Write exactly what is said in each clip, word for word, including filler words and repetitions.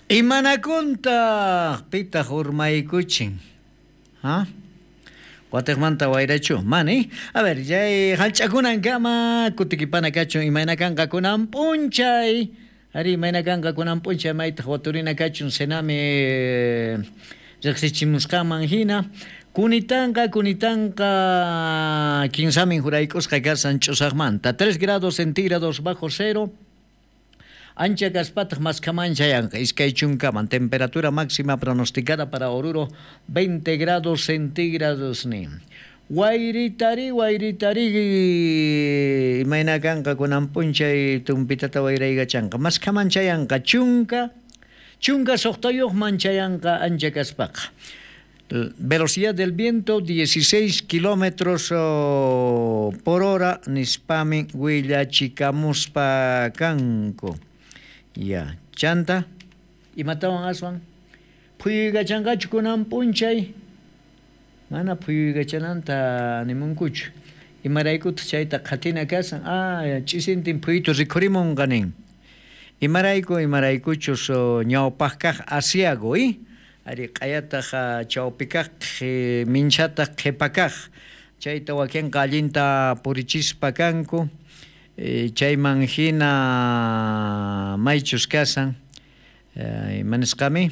Imanakuntaq pitaq urmaykuchin? Ha? Watiqmanta wayrachu? Mani. A ver, chay hallch'akunankama kutikipana kachun imayna kanqa kunan p'unchay. Ari imayna kanqa kunan p'unchay maytaq waturina kachun Senami riqsichimusqanman hina. Kunitanqa, kunitanqa kinsamin jurayk'usqa kasan ch'usaqmanta. tres grados centígrados bajo cero. Ancha kaspataq maskhaman chayanqa iskay chunkaman. Temperatura máxima pronosticada para Oruro veinte grados centígrados nin. Wayritari, wayritari imayna kanqa kunan p'unchay tumpitata wayraykachanqa. Maskhaman chayanqa chunka, chunka suqtayuqman chayanqa ancha kaspaqa. Velocidad del viento dieciséis kilómetros por hora nispami willachikamuspa kanku. Ya, chanta, imatawan aswan? Phuyuykachanqachu kunan p'unchay? Mana phuyuykachananta nimunkuchu. Imaraykutaq chayta qhatina kasan? Ah, ch'isintin phuyutu rikhurimunqa nin. Imarayku, imaraykuchus ñawpaq kaq asiago, eh? Ari q'ayataq chawpi kaq, minchataq qhipa kaq. Chayta wakinqa allinta purichispa kanku. Chayman hina maychus kasan, imanisqami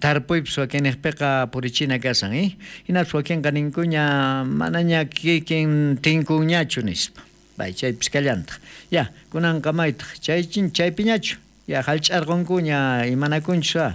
tarpuypis wakinniqpiqa purichina kasan, eh? Hinapis wakinqa ninkuña manaña kikin tinkunñachu nispa. Bay chaypis kallantaq. Ya, kunanqa maytaq chaychin chaypiñachu. Ya hallch'arqunkuña imanakunchus.